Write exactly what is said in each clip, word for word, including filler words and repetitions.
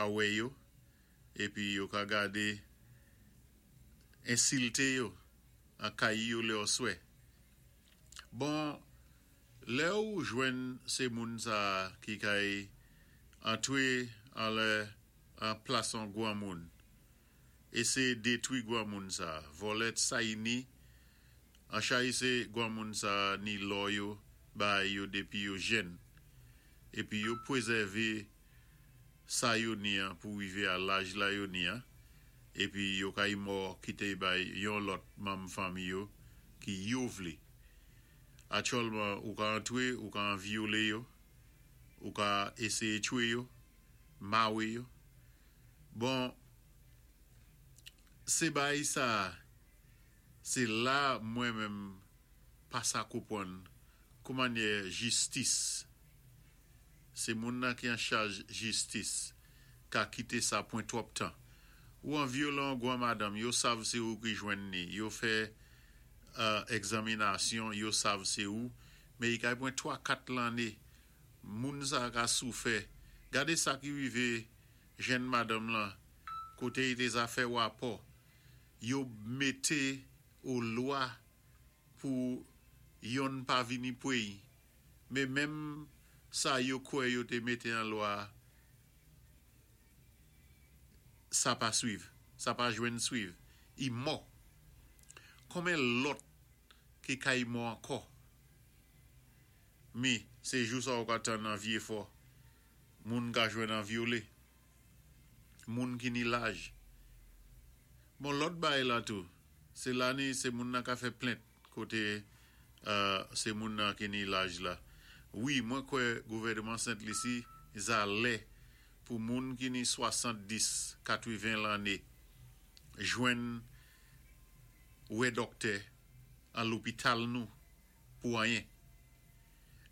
Ka wè yo, épi yo ka gadé ensilté yo an kay yo lè oswè. Bon, lè ou jwenn sé moun sa ki kay antwé an lè an plas an gwanmoun, éséyé détwi gwanmoun sa, vòlè sa y ni, an chay sé gwanmoun sa ni lò yo, bay yo dépi yo jèn. Épi yo pwézèvé sa yo ni an pou wivé a laj la yo ni an, épi yo kay mò kité bay yon lòt manm fanmi yo ki yo vlé. Aktyèlman, ou ka antwé, ou ka an vyolé yo, ou ka éséyé tchwé yo, mawé yo. Bon, sé bay sa, sé la mwen menm pa sa konpwann kouman-yé jistis. Sé moun nan ki an chaj jistis ka kité sa pwan twòp tan. Ou an vyolé gwan madanm, yo sav sé ou ki jwenn ni, yo fè euh, egzaminasyon, yo sav sé ou, mé i kay pwan twa kat lanné, moun sa ka soufè. Gadé sa ki wivé jèn madanm lan, koté i té za fè wapò, yo mété ou lwa pou yonn pa vini pwé, mé menm sa yo kwè yo té mété an lwa, sa pa swiv, sa pa jwenn swiv, i mò. Konmen lòt ki kay mò ankò? Mi, sé jou sa ou ka tann an vyé fò, moun ka jwenn an vyolé, moun ki ni laj. Bon, lòt bay la tou, sé la ni sé moun nan ka fè plent koté euh, sé moun nan ki ni laj la. Wi, mwen kwè gouvèdman Sent Lisi za lè pou moun ki ni swasanndis, katweven lanné jwenn wè dòktè an lopital nou pou anyen.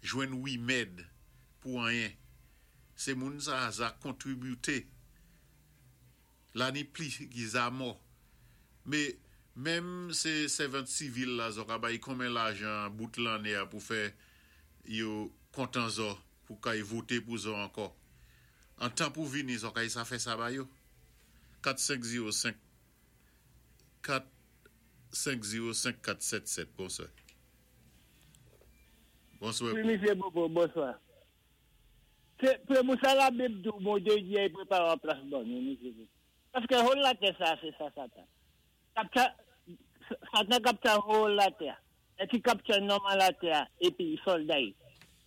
Jwenn wimèd pou anyen. Sé moun sa za kontribiwté. La ni pli ki za mò. Mé menm sé sèvant sivil la zò ka bay konmen lajan bout lanné a pou fè yo kontan zò pou kay voté pou zò ankò. An tan pou vini zò kay sa fè sa ba yo. kat senk zewo senk kat senk zewo senk kat sèt sèt. Bonswa. Bonswa. Wi, misyé Bobo, bonswa. Sé pou sa Labib di Bondyé di i pwépawé an plas ban nou, misyé Bobo. Paské whole latè sa, sé sa Satan. Kapta, Satan kapta whole latè. É ki kapta nòmal latè, épi sòlda.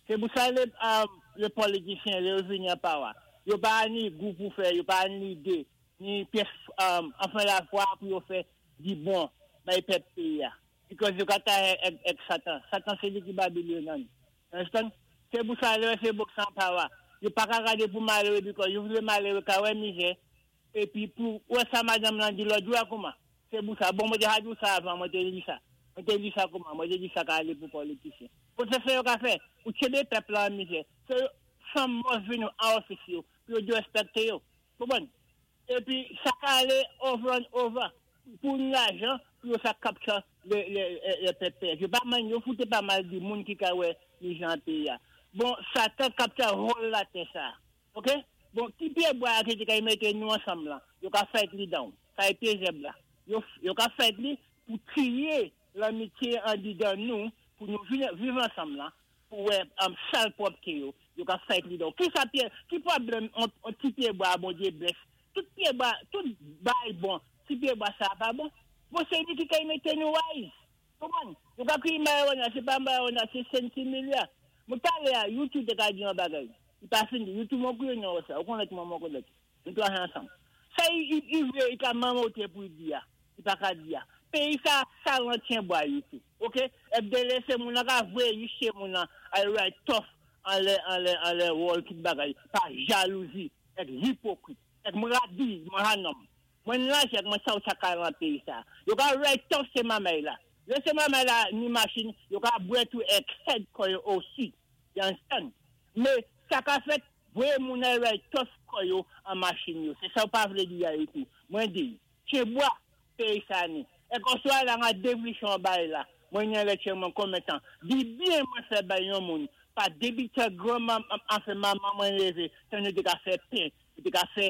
Sé pou sa lé, euh, lé politisyen, lé yo vini an power. Yo pa ni gou pou fè, yo pa ni idé, ni pyès, euh, anfen lafwa pou yo fè di bon, bay pèp péyi a. Because yo kata èk, èk Satan. Satan sé li ki Babilòn nan. Understand? Sé pou sa lé sé boks an power. Yo pa ka gadé pou maléwé because yo vlé maléwé ka wè mizè. Épi pou wè sa madanm lan di lòt jou a kouman. Sé pou sa. Bon, mwen té di sa avan, mwen té di sa. Mwen té di sa kouman, mwen té di sa ka alé pou politisyen. Pou sé sa yo ka fè, ou tchébé pèp la an mizè. Sé san mòs vini an ofis yo, pou yo dwé réspèkté yo. Bon. Épi sa ka alé over and over pou lajan, pou yo sa capture lé lé lé pèp. Yo pa man yo fouté pa mal di moun ki ka wè mizè an péyi a. Bon, Satan capture whole latè sa. OK? Bon, ki pyé bwa ki te ka mété nou ansanm la, yo ka fè li down. Sa é pyé zèb la. Yo yo ka fè li pou triyé lanmityé andidan nou pou nou viv, viv ansanm la pou wè um, sal pwòpté yo. Yo ka fè li down. Ki sa pyé ki pwoblèm on, on ti pyé bwa Bondyé bless. Tout pyé bwa, tout bay bon. Ti pyé bwa sa pa bon. Bon, sé li ki ka mété nou wise. Konpwann? Yo ka kriye marijuana, sé pa marijuana, sé sentimilia. Mwen palé a YouTube té ka di yon bagay. I pa fini. YouTube mwen kriye nan sa. Ou konnèt mwen, mwen konnèt. Nou twa ansanm. Sa i, i, i vlé, i ka manmoté pou i di ya. I pa ka di ya. Péyi sa sal an tyen bwa YouTube. OK? É délé sé moun nan ka vwé yiché moun nan ay write tough an lè an lè an lè wall tout bagay pa jalouzi èk ipokrit. Èk mwen radi, mwen hanom. Mwen laj èk mwen sa ou sa ka lan péyi sa. Yo ka write tough sé mamay la. Lè sé mamay la ni machin, yo ka bwè tou èk head kò yo osi. You understand? Mé sa ka fèt, vwé moun ay write tough kò yo an machin yo. Sé sa ou pa vlé di ya yo. Mwen di, tyen bwa péyi sa ni. Èk oswa la nga devlichon bay la. Mwen nye lè tyen mwen konmen tan. Di byen mwen fè bay yon moun. Pa débi te granman, anfen manman mwen lévé, tan nou té ka fè pen, nou té ka fè